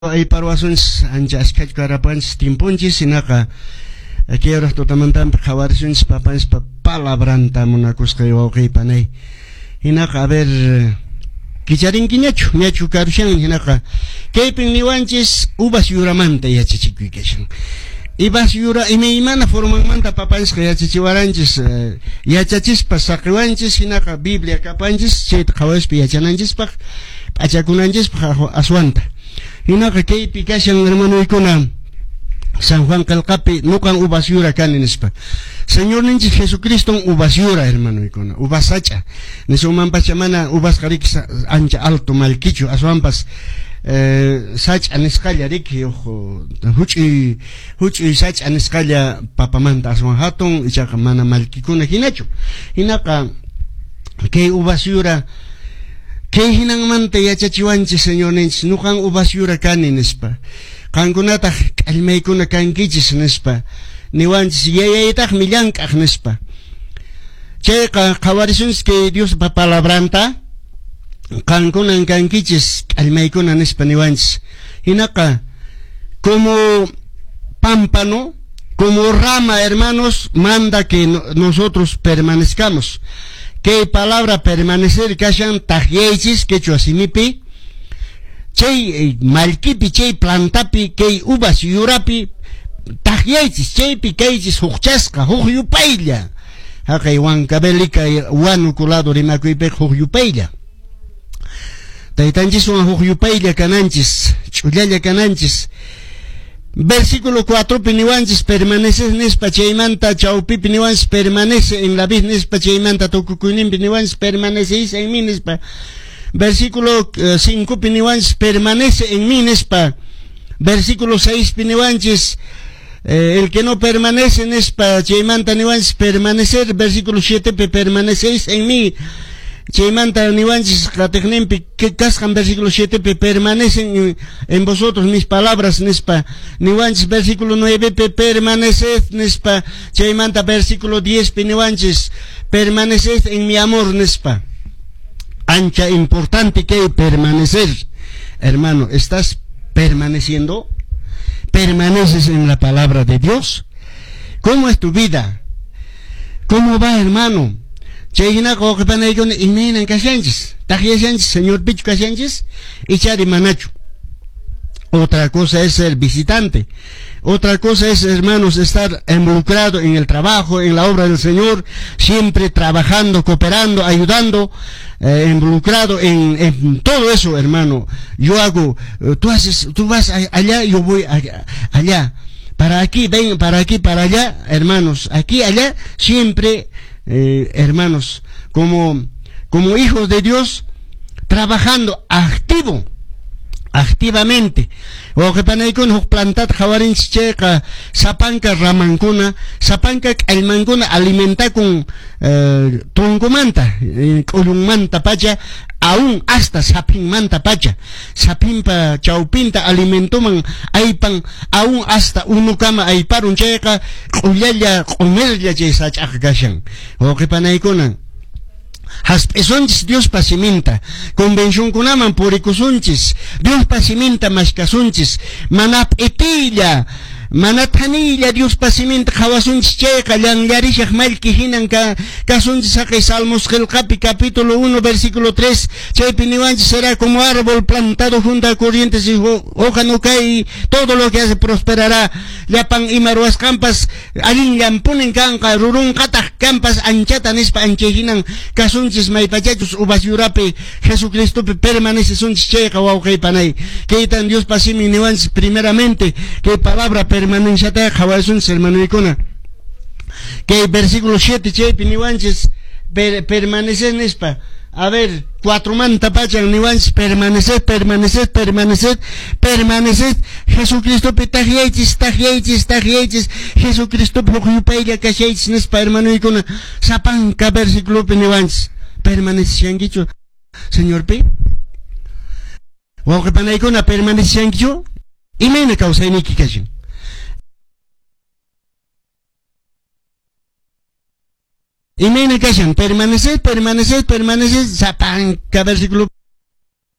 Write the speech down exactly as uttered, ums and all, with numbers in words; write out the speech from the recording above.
Ayparwasunchis ancha askhachu karapanchis timpunchis hinaqa kay hora tutamantanpi qhawarisunchis papanchispa palabranta munakusqay wawqiy panay hinaqa a ver kicharinkiñachu ñachu karushan hinaqa kaypin niwanchis uvas yuramanta yachachikuy kashan uvas yura imaymana formanmanta papanchisqa yachachiwaranchis yachachispa saqiwanchis hinaqa Biblia kapanchis chayta qhawarispa yachananchispaq p'achakunanchispaq aswanta hinaqa kaypi kashan hermanoykuna San Juan qillqapi nuqan uvas yura kani nispa Señorninchis Jesucriston uvas yura hermanoykuna uvas sach'a nisunmanpacha mana uvasqa riki ancha alto mallkichu aswanpas eh, sach'a nisqalla riki huch'uy huch'uy sach'a nisqalla papamanta aswan hatun ichaqa mana mallkikuna hinachu hinaqa kay uvas yura kay hinanmanta yachachiwanchis Señorninchis nuqan uvas yura kani nispa qankunataq k'allmaykuna kankichis nispa niwanchis yayaytaqmi llank'aq nispa chayqa qhawarisunchis kay Diospa palabranta qankunan kankichis k'allmaykuna nispa niwanchis hinaqa como pámpano como rama hermanos manda que nosotros permanezcamos kay palabra permanecer kashan takyaychis quechua simipi chay mallkipi chay plantapi kay uvas yurapi takyaychis chaypi kaychis hukchasqa huk yupaylla haqay Huancavelica Huánuco lado rimakuypiqa huk yupaylla taytanchiswan huk yupaylla kananchis ch'ullalla kananchis versículo cuatro pi niwanchis permanece nispa chaymanta chawpipi niwanchis permanece en la vid nispa chaymanta tukukuyninpi niwanchis permanecéis en mí nispa versículo cinco pi niwanchis permanece en mí nispa versículo seis pi niwanchis eh, el que no permanece nispa chaymanta niwanchis permanecer versículo siete pi permanecéis en mí chaymanta niwanchis qatiqninpi kasqan versículo siete pi permanecen en vosotros mis palabras nispa niwanchis versículo nueve pi permaneced nispa chaymanta versículo diez pi niwanchis permaneced en mi amor nispa ancha importante que permanecer hermano estás permaneciendo permaneces en la palabra de Dios ¿cómo es tu vida? ¿cómo va hermano? Chay hinaqa wawqipanaykuna imaynan kashanchis takyashanchis Señorpichu kashanchis ichari manachu otra cosa es ser visitante otra cosa es hermanos estar involucrado en el trabajo en la obra del Señor siempre trabajando cooperando ayudando eh, involucrado en, en todo eso hermano yo hago eh, tú haces tú vas allá yo voy allá para aquí ven para aquí para allá hermanos aquí allá siempre eh, hermanos como como hijos de Dios trabajando activo activamente wawqipanaykuna huk plantata qhawarinchis chayqa sapanka ramankuna sapanka k'allmankuna alimentakun eh, troncomanta eh, k'ullunmanta pacha aún hasta saphinmanta pacha saphinpa chawpinta alimentoman aypan aún hasta unukama ayparun chayqa k'ullalla q'umirlla chay sach'aqa kashan wawqipanaykuna hasp'isunchis Diospa siminta convencionkunaman purikusunchis Diospa siminta mashkasunchis mana p'itilla mana thanilla Diospa siminta qhawasunchis chayqa llanllarishaq mallki hinan ka kasunchis haqay Salmos qillqapi capítulo uno versículo tres chaypi niwanchis será como árbol plantado junto a corrientes y hoja no cae todo lo que hace prosperará llapan ima ruwasqanpas allinllanpunin kanqa rurunqataq kanpas anchata nispa anchay hinan kasunchis maypachachus uvas yurapi Jesucristopi permanecesunchis chayqa wawqay panay kaytan Diospa simin niwanchis primeramente kay palabra permanenciata qhawarisunchis hermanoykuna kay versículo siete chaypi niwanchis per, permanecer nispa a ver cuatro manta pachan niwanchis permaneced permaneced permaneced permaneced Jesucristopi takyaychis takyaychis takyaychis Jesucristopi huk yupaylla kashaychis nispa hermanoykuna sapanka versículopi niwanchis permaneceshankichu Señorpi wawqipanaykuna permaneceshankichu imayna kawsayniyki kashan imayna kashan permaneced permaneced permaneced sapanka versículo